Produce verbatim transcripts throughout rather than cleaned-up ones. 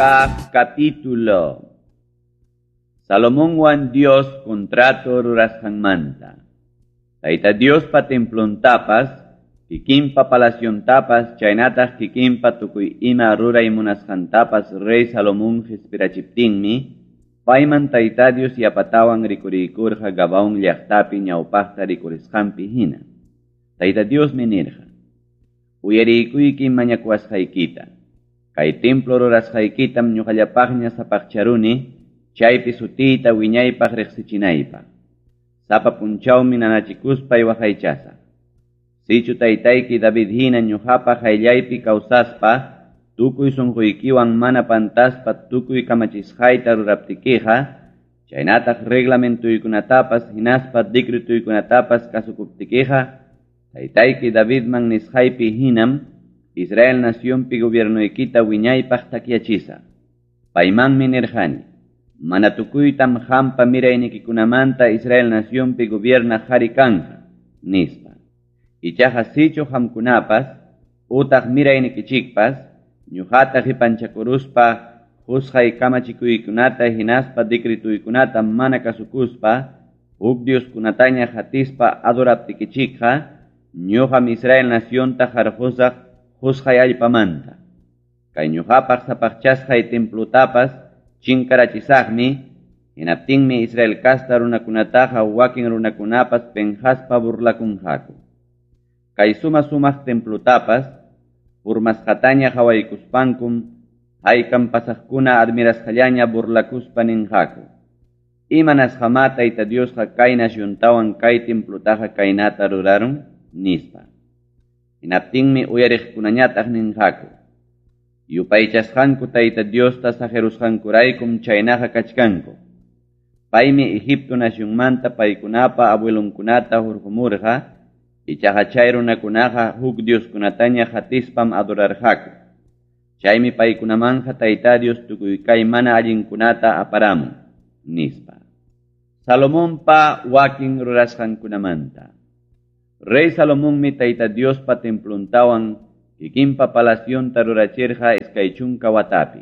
Kaq capítulo. Salomonwan Dios contrato rurasqanmanta. Tayta Diospa templontapas, kikinpa palaciontapas, chaynataq kikinpa tukuy ima ruray munasqantapas rey Salomón qispirachiptinmi, payman Tayta Dios yapatawan rikuriykurqa Gabaón llaqtapi ñawpaqta rikurisqanpi hina. Tayta Diosmi nirqa: Uyariykuyki mañakuwasqaykita. Kay templo rurasqaykitam ñuqallapaqña sapaqcharuni, chaypi sutiyta wiñaypaq riqsichinaypaq. Sapa punchawmi nanachikuspay waqaychasaq. Sichu taytayki David hina ñuqapa qayllaypi kawsaspa, tukuy sunquykiwan mana pantaspa tukuy kamachisqayta ruraptikiqa, chaynataq reglamentuykunatapas hinaspa decretuykunatapas kasukuptikiqa, taytayki Davidman nisqaypi hinam Israel nacionpi gobiernoykita wiñaypaq takyachisaq. Paymanmi nirqani: mana tukuytam qampa miraynikikunamanta Israel nacionpi gobiernaq qhari kanqa, nispa. Ichaqa sichu qamkunapas, utaq miraynikichikpas, ñuqata qipanchakuruspa, qusqay kamachikuykunata hinaspa decretuykunata mana kasukuspa, huk dioskunataña hatispa adoraptikichikqa, ñuqam Israel nacionta qarqusaq qusqay allpamanta. Kay ñuqapaq sapaqchasqay templutapas chinkarachisaqmi, hinaptinmi Israel kasta runakunataqa wakin runakunapas penqaspa burlakunqaku. Kay suma sumaq templutapas purmasqataña qhawaykuspankum haykam pasaqkuna admirasqallaña burlakuspa ninqaku: Imanasqamá Tayta Diosqa kay naciontawan kay templutaqa kaynata rurarun, nispa. Hinaptinmi uyariqkunañataq ninqaku: Yupaychasqanku Tayta Diosta saqirusqankuraykum chaynaqa kachkanku. Paymi Egipto nacionmanta paykunapa abuelonkunata hurqumurqa, ichaqa chay runakunaqa huk dioskunataña hatispam adorarqaku. Chaymi paykunamanja Tayta Dios tukuy kay mana allinkunata aparamun, nispa. Salomonpa wakin rurasqankunamanta. Rey Salomonmi Tayta Diospa templontawan kikinpa palacionta rurachirqa iskay chunka watapi.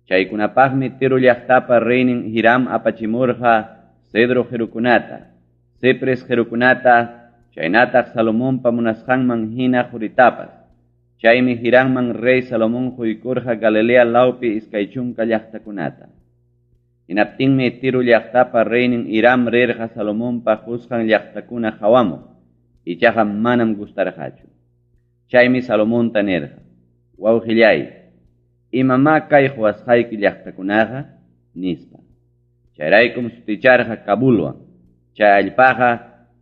Chaykunapaqmi Tiro llaqtapa reynin Hiram apachimurqa cedro qirukunata, cipres qirukunata, chaynataq Salomonpa munasqanman hina quritapas. Chaymi Hiramman rey Salomón quykurqa Galilea lawpi iskay chunka llaqtakunata. Hinaptinmi Tiro llaqtapa reynin Hiram rirqa Salomonpa qusqan llaqtakuna qawamuq, ichaqa manam gustarqachu. Chaymi Salomonta nirqa: Wawqillay, imamá kay quwasqayki llaqtakunaqa, nispa. Chayraykum suticharqa Kabulwan. Chay allpaqa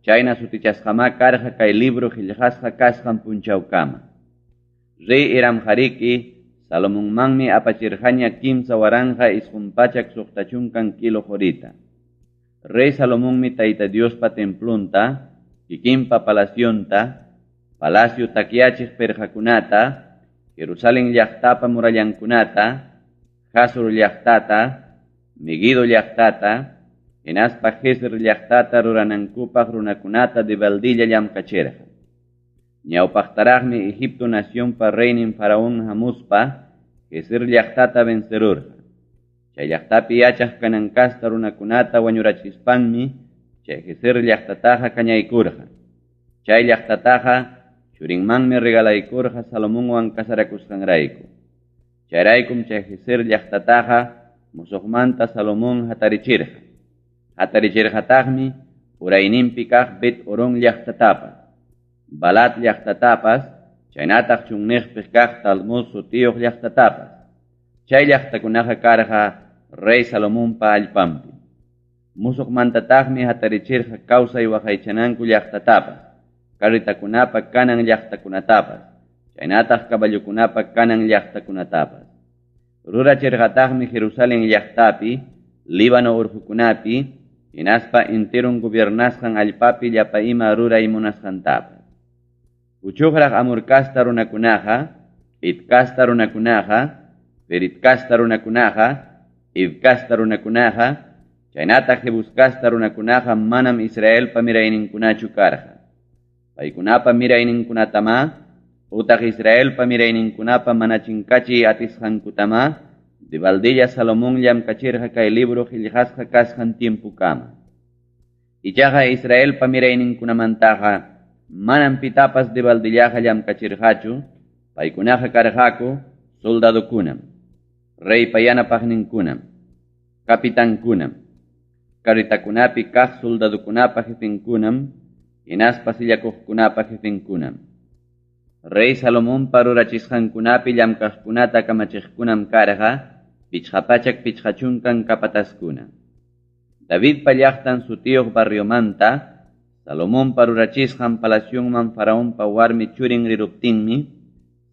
chayna sutichasqamá karqa kay libro qillqasqa kasqan punchawkama. Rey Hiramqariki Salomonmanmi apachirqaña kimsa waranqa isqun pachak suqta chunkan kilo qurita. Rey Salomonmi Tayta Diospa templonta, kikinpa palacionta, palacio takyachiq pirqakunata, Jerusalén llaqtapa murallankunata, Hazor llaqtata, Meguido llaqtata, hinaspa Gezer llaqtata ruranankupaq runakunata debaldilla llamkachirqa. Ñawpaqtaraqmi Egipto nacionpa reynin Faraón hamuspa Gezer llaqtata vencerurqa. Chay llaqtapi yachaq kanankasta runakunata wañurachispanmi chay Gezer llaqtataqa kañaykurqa. Chay llaqtataqa churinmanmi regalaykurqa Salomonwan kasarakusqanrayku. Chayraykum chay Gezer llaqtataqa musuqmanta Salomón hatarichirqa. Hatarichirqataqmi urayninpi kaq Bet Orón llaqtatapas, Balat llaqtatapas, chaynataq chunniqpi kaq Talmud sutiyuq llaqtatapas. Chay llaqtakunaqa karqa rey Salomonpa allpanpi. Musuqmantataqmi hatarichirqa kawsay waqaychananku llaqtatapas, carretakunapa kanan llaqtakunatapas, chaynataq caballokunapa kanan llaqtakunatapas. Rurachirqataqmi Jerusalén llaqtapi, Líbano urqukunapi, hinaspa enteron gobiernasqan allpapi llapa ima ruray munasqantapas. Uchuqraq Amor kasta runakunaqa, Het kasta runakunaqa, Ferit kasta runakunaqa, Hiv kasta runakunaqa, chaynataq Jebus kasta runakunaqa manam Israelpa mirayninkunachu karqa. Paykunapa mirayninkunatamá, utaq Israelpa mirayninkunapa mana chinkachiy atisqankutamá, Debaldella Salomon llamkachirqa kay libro qellqasqa kasqan tiempokama. Ichaqa Israelpa mirayninkunamantaqa manam pitapas debaldillaqa llamkachirqachu, paykunaqa karqaku soldadokunam, reypa yanapaqninkunam, capitankunam, carretakunapi kaq soldadokunapa jefenkunam, hinaspa sillakuqkunapa jefenkunam. Rey Salomonpa rurachisqankunapi llamkaqkunata kamachiqkunam karqa pichqa pachak pichqa chunkan capatazkuna. Davidpa llaqtan sutiyuq barriomanta Salomonpa rurachisqan palacionman Faraonpa warmi churin riruptinmi,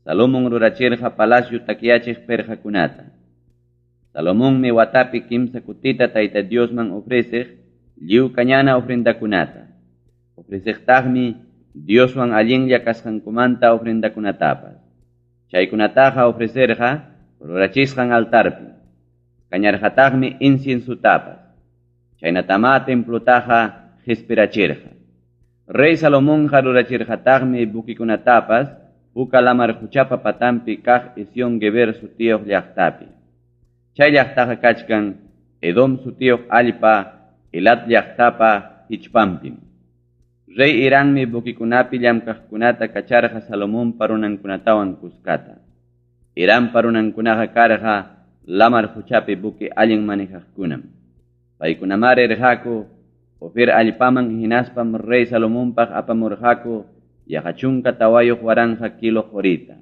Salomon rurachirqa palacio takyachiq perqakunata. Salomonmi watapi kimsa kutita Tayta Diosman ofreceq lliw kañana ofrendakunata. Ofreceqtaqmi Dioswan allinlla kasqankumanta ofrendakunatapas. Chaykunataqa ofrecerqa rurachisqan altarpi. Kañarqataqmi inciensutapas. Chaynatamá templotaqa qispirachirqa. Rey Salomonqa rurachirqataqmi buquikunatapas Puka lamar quchapa patanpi kaq Ezión Geber sutiyuq llaqtapi. Chay llaqtaqa kachkan Edom sutiyuq allpa Elat llaqtapa hichpanpim. Rey Hirammi buquikunapi llamkaqkunata kacharqa Salomonpa runankunatawan kuskata. Hirampa runankunaqa karqa lamar quchapi buque allin manejaqkunam. Paykunamá rirqaku Ofir allpaman hinaspam rey Salomonpaq apamurqaku yaqa chunka tawayuq waranqa kilo qorita.